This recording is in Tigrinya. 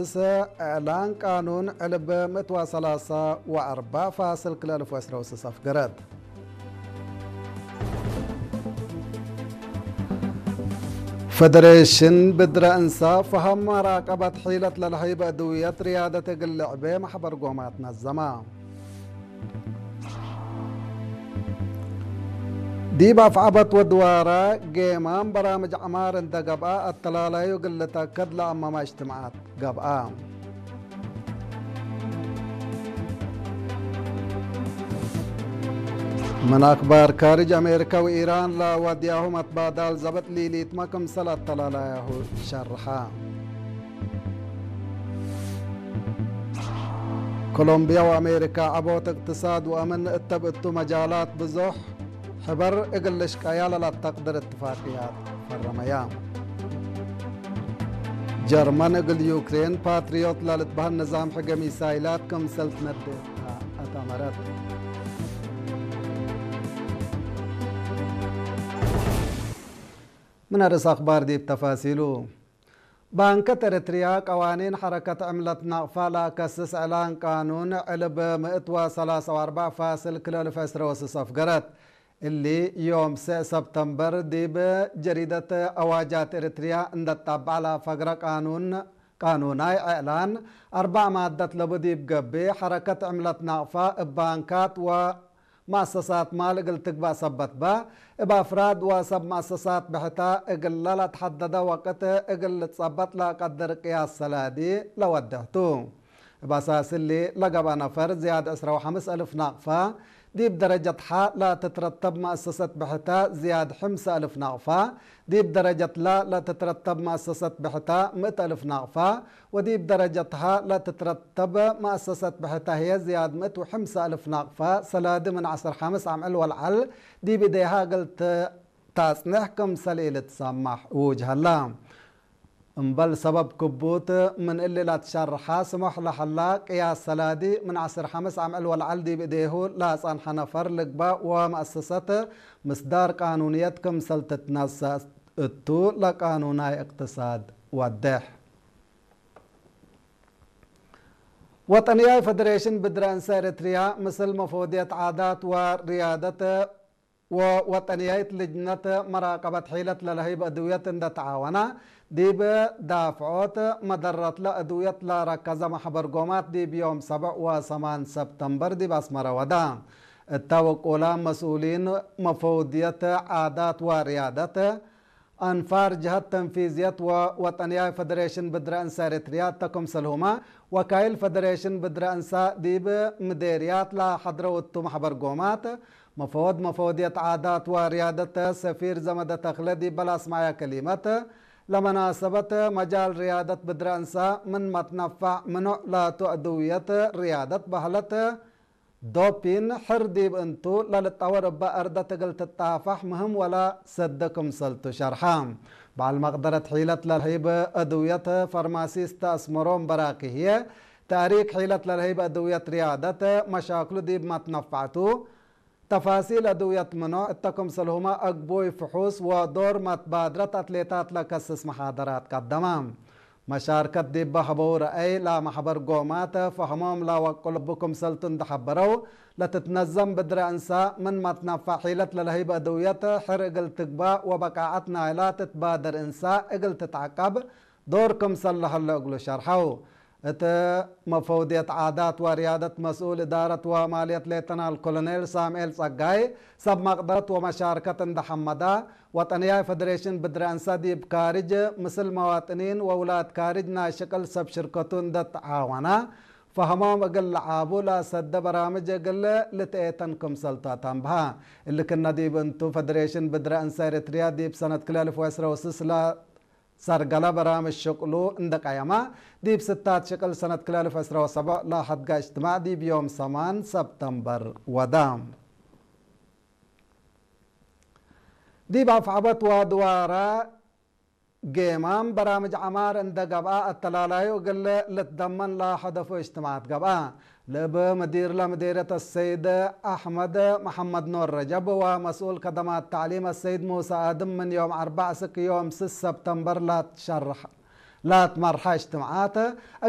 ስ እዕላን ቃኑን ዕልብ ምእትዋ ሰላሳ ወኣርባ ፋስል ክልእልፍ ወስረውስ ሰፍገረት። ፈደሬሽን ብድረ እንሳ ፈሃም መራቀበት ሒለት ለለሀይ በእድውየት ርያደት እግል ልዕቤ ማሕበር ጎማት ነዘማ። ዲብ አፍዓበት ወድዋራ ጌማም በራምጅ ዐማር እንተ ገብአ፣ አተላላዩ እግል ልተከድ ለአመማ እጅትማዓት ገብአ። ምን አክባር ካርጅ፣ አሜሪካ ወኢራን ለወድያሁ መትባዳል ዘበጥ ሊሊትመ ክምሰል አተላላያሁ ሸርሐ። ኮሎምቢያ ወአሜሪካ ዐቦት እቅትሳድ ወአምን እተ ብእቱ መጃላት ብዙሕ ሕበር እግል ልሽቀያ ለላተቅድር እትፋቅያት ፈረመያ። ጀርመን እግል ዩክሬን ፓትሪዮት ለልትበህል ንዛም ሕገ ሚሳይላት ክምሰል ትነድእ አተመረት። ምን አርእስ አክባር ዲብ ተፋሲሉ። ባንከት ኤረትርያ ቀዋኒን ሐረከት ዕምለት ናቅፋ ለአከስስ እዕላን ቃኑን ዕልብ ምእት ወሰላሳ ወአርባዕ ፋስል ክልእልፍ ዕስረ ወስስ አፍገረት። እሊ ዮም ሰዕ ሰብተምበር ዲብ ጀሪደት አዋጃት ኤረትርያ እንደ ጣብዓ ለአፈግረ ቃኑን፣ ቃኑናይ እዕላን አርባዕ ማደት ለቡ ዲብ ገብእ፣ ሐረከት ዕምለት ናቅፋ እብ ባንካት ወ መአሰሳት ማል እግል ትግባእ ሰበት በ፣ እብ አፍራድ ወሰብ መአሰሳት ብሕተ እግለ ለአትሐደደ ወቅት እግል ልትጸበጥ ለአቀድር ቅያስ ሰላዲ ለወድሕ ቱ። እብ አሳስ እሊ ለገብአ ነፈር ዝያድ ዕስረ ወሐምስ አልፍ ናቅፋ፣ ዲብ ደረጀት ሐ ለትትረተብ መአሰሰት ብሕተ ዝያድ ሕምሰ አልፍ ናቅፋ፣ ዲብ ደረጀት ለ ለትትረተብ መአሰሰት ብሕተ ምእት አልፍ ናቅፋ፣ ወዲብ ደረጀት ሀ ለትትረተብ መአሰሰት ብሕተ ህዬ ዝያድ ምእት ወሕምሰ አልፍ ናቅፋ ሰላዲ ምን ዐስር ሐምስ አምዕል ወለዐል ዲብ እዴሃ እግል ት-፣ ታጽንሕ ክምሰል ኢልትሰማሕ እውጅ ሀላ። እምበል ሰበብ ክቡት ምን እሊ ለትሸርሐ ስሞሕ ለሀላ ቅያስ ሰላዲ ምን ዐስር ሐምስ አምዕል ወለዐል ዲብ እዴሁ ለአጸንሐ ነፈር ልግባእ ወመአሰሰት ምስዳር ቃኑንየት ክምሰል ትትነሰእ እቱ ለቃኑናይ እቅትሳድ ወድሕ። ወጠንያይ ፈደሬሽን ብድረ እንሰ ኤረትርያ ምስል መፈወድየት ዓዳት ወርያደት ወወጠንያይት ልጅነት መራቀበት ሒለት ለለህይብ እድውየት እንደ ተዓወና፣ ዲብ ዳፍዖት መደረትለ እድውየት ለረከዘ ማሕበር ጎማት ዲብ ዮም ሰብዕ ወሰማን ሰብተምበር ዲብ አስመረ ወዳ። እተ ወቁላ መስኡሊን መፈውድየት ዓዳት ወርያደት አንፋር ጀሀት ተንፊዝየት ወወጠንያይ ፈደሬሽን ብድረ እንሰ ኤረትርያ እተ ክምሰልሁመ ወካይል ፈደሬሽን ብድረ እንሳ ዲብ ምዴርያት ለሐድረው እቱ ማሕበር ጎማት፣ መፈወድ መፈወድየት ዓዳት ወርያደት ሰፊር ዘመደ ተክለ ዲበ ለአስመዐየ ከሊመት፣ ለመናሰበት መጃል ርያደት ብድረ እንሳ ምን መትነፋዕ ምኑዕ ላቱ ዕድውየት ርያደት በህለት ዶፒን ሕር ዲብ እንቱ ለልጠወር እበ አርደት እግል ትጣፋሕ ምህም ወለ ሰደ ክምሰልቱ ሸርሐ። በዓል መቅደረት ሒለት ለልህይብ እድውየት ፈርማሲስት አስመሮም በራኪ ህዬ፣ ተእሪክ ሒለት ለልህይብ እድውየት ርያደት መሻክሉ ዲብ መትነፋዕቱ፣ ተፋሲል እድውየት ምኖ እተ ክምሰልሁመ አግቡይ ፍሑስ ወዶር መትባድረት አትሌታት ለከስስ መሓደራት ቀደመ። መሻርከት ዲበ ሀበው ረአይ ለማሕበር ጎማት ፈህሞም ለወቅሉ እቡ ክምሰልቱ እንደ ሐበረው፣ ለትትነዘም ብድረ እንሳ ምን መትነፋዕ ሒለት ለለህይብ እድውየት ሕር እግል ትግባእ ወበቃዐት ናይላ ትትባደር እንሳ እግል ትትዐቀብ ዶር ክምሰል ለሀለ እግሉ ሸርሐው። እት መፈውድየት ዓዳት ወርያደት መስኡል እዳረት ወማልየት ሌተናል ኮሎኔል ሳምኤል ጸጋይ፣ ሰብ መቅደረት ወመሻርከት እንደ ሐመዳ፣ ወጠንያይ ፈደሬሽን ብድረ እንሳ ዲብ ካርጅ ምስል መዋጥኒን ወውላድ ካርጅ ናይ ሽቅል ሰብ ሽርከቱ እንደ ተዓወና፣ ፈህሞም እግል ለዓቡ ለአሰደ በራምጅ እግል ልትኤተን ክምሰልቱ አተንብሃ። እሊ ክነ ዲብ እንቱ ፈደሬሽን ብድረ እንሳ ኤረትርያ ዲብ ሰነት ክልኤ አልፍ ወዕስረ ወስስ ለ ሰርገለ በራምጅ ሽቅሉ እንደ ቀየማ፣ ዲብ ስታት ሽቅል ሰነት ክልኤ አልፍ ዕስረ ወሰብዕ ለሐድጋ እጅትማዕ ዲብ ዮም ሰማን ሰብተምበር ወዳ። ዲብ አፍዐበት ወድዋራ ጌማም በራምጅ ዐማር እንደ ገብአ፣ አተላላዩ እግል ልትደመን ለሀደፉ እጅትማዓት ገብአ። ለእብ ምዲር ለምዴርየት አሰይድ አሕመድ መሐመድ ኖር ረጀብ ወመስኡል ከደማት ተዕሊም አሰይድ ሙሳ አድም ምን ዮም አርበዕ እስክ ዮም ስስ ሰብተምበር ላትሸርሕ-፣ ላትመርሐ እጅትምዓት